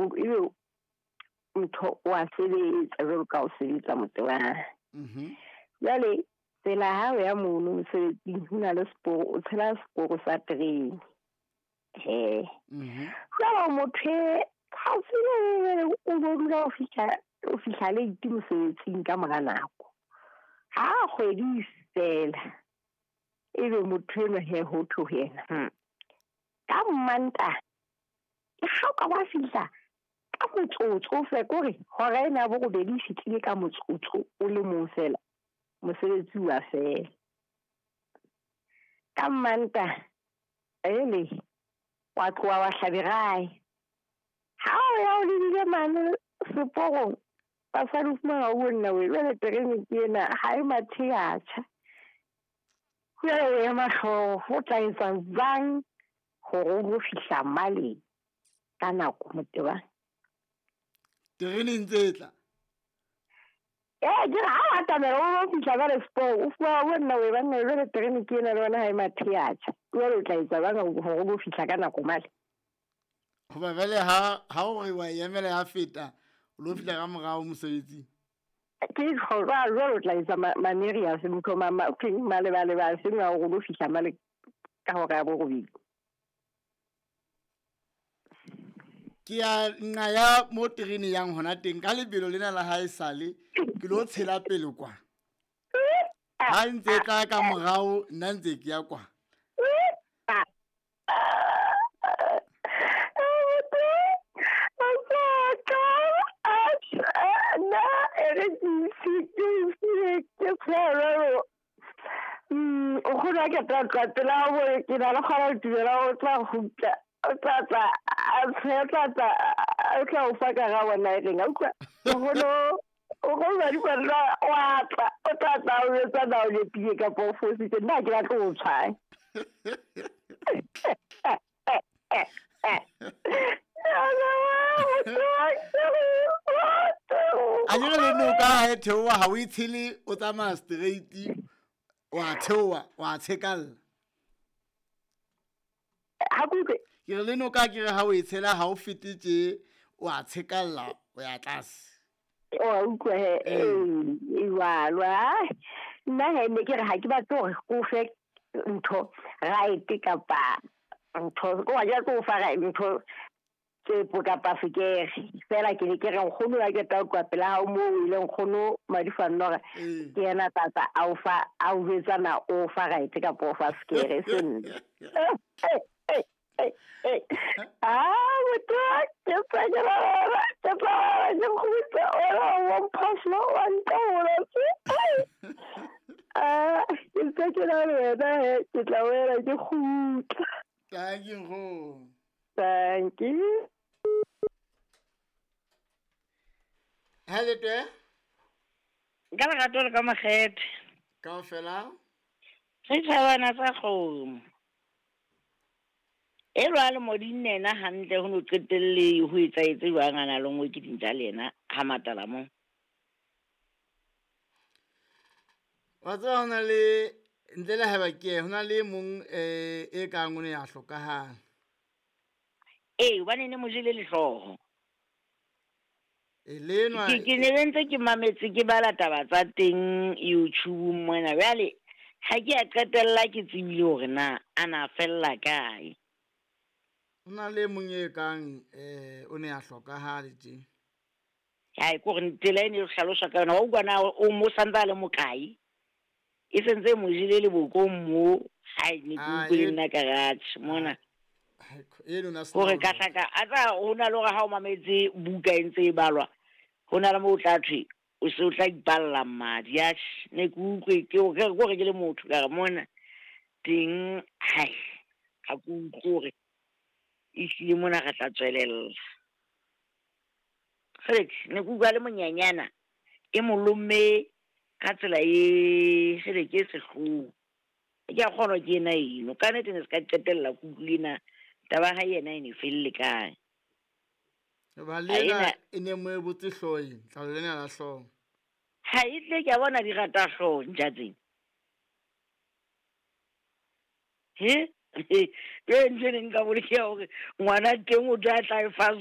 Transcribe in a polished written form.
ebe ntho wa sebetsa jwalo ka o sebetsa motebang. Jwale tsela ha o ya mono mosebetsing ho na le seporo, o tshela seporo sa terene. He. Jwale motho ha o tsebe o bo dula o fihla late mosebetsing ka mora nako. Ha kgwedi fela ebe motho enwa he ho thwe ho yena. Ka Mmantaha ke ha o ka wa fihla ka motsotso fela kore hora ena ya borobedi e fihlile ka motsotso o le mong fela mosebetsi wa fela. Ka Mmantaha ele wa tloha wa hlaberae. Ha o ya o lebile mane seporong basadi o fumana o nna we jwale terene ke ena ha e mathe ya tjha. Jwale o ema hlooho o tla etsa jwang hore o lo fihla male ka nako motebang? Terene ntse e tla. Ke re ha o atamela o lo fihla jwale seporong o fumana o nna we banna jwale terene ke ena le yona ha e mathe ya tjha. Jwale o tla etsa jwang hore o lo fihla ka nako male? Hoba jwale ha o re wa emela ya feta o lo fihla ka morao mosebetsing. Ke jwale o tla etsa maneri a se motho malebale a seng a hore o lo fihla male ka hora ya borobedi. Ke ya nqa ya mo terene yang hona teng ka lebelo lena la hae sale ke lo tshela pele kwa. Ha ntse tla ka morao nna ntse ke ya kwa. O kgona ke tla tla pela bo ke na le kgona ho dumela o tla kgutla o tla tla a tla o fa ka ga bona e reng a utlwa o go ba di ba wa tla o tla tla o etsa na o lepile kapa o fositse nna ke batla o tshwae. A jere le noka ha e theoha ha o e tshele o tsamaya straight wa theoha wa tshekalla. Ha ke ke re le noka ke re ha o e tshela ha o fete tje wa tshekalla o ya tlase. O utlwa he e jwalo. Nna he ne ke re ha ke batle hore o fe ntho right kapa ntho o wa ja ko fa ntho tsepo kapa sekere fela ke ne ke re nkgono wa ke tla kwa pela ha mo ile nkgono Madifanora ke yena tata a o fa a o jwetsa na o fa right kapa o fa sekere seng. Ah motho ke tla ke tla ke kgutla o mphoso wa ntaola ah ke tla ke la wena ke tla wela ke kgutla. Thank you nkgono. Thank you. Hello te. Ka lerato le ka makgethe. Kaofela. Re thabana tsa kgomo. E lwa le modinne ena hantle ho no qetelle ho etsaetse jwang a na le nngwe ke dintja le yena ha matala mo. Wa tseba hona le ntle le haeba ke hona le mong e kang o ne ya hlokahala. Ee, hobane ne mo jele lehlooho. E lenwa Ke ne ntse ke mametse ke bala taba tsa teng YouTube mona. Jwale ha ke a qetella ke tsebile hore na a na fella kae. Hona le mong e kang o ne a hlokahale tje. Hai ko re tsela e ne hlalosa ka yona wa utlwa na o mo santsa le mokae. E sentse mo jele le bokong mo hai ne ke utlwile nna ka ratjhe mona. E lona hore ka hlaka a tsa hona le hore ha o mametse buka e ntse e balwa hona le mo o tla thwe o se o tla ipalla madi ya ne ke utlwe ke hore ke le motho ka re mona teng hai ha ke utlwe hore ehlile mona re tla tswelella. Kgele ne ke utlwa le monyanyana e molomme ka tsela e kgele ke sehloho. Ke a kgona ke ena eno ka nnete ne se ka qetella ke utlwile na taba ha yena e ne felle kae. Ba lena e ne mo e botse hlooho ena, tlalo lena la hlooho. Ha e tle ke a bona di rata hlooho ntja tsena. He? Ke ntho e neng nka bolokeha hore ngwana teng o tla tla e fa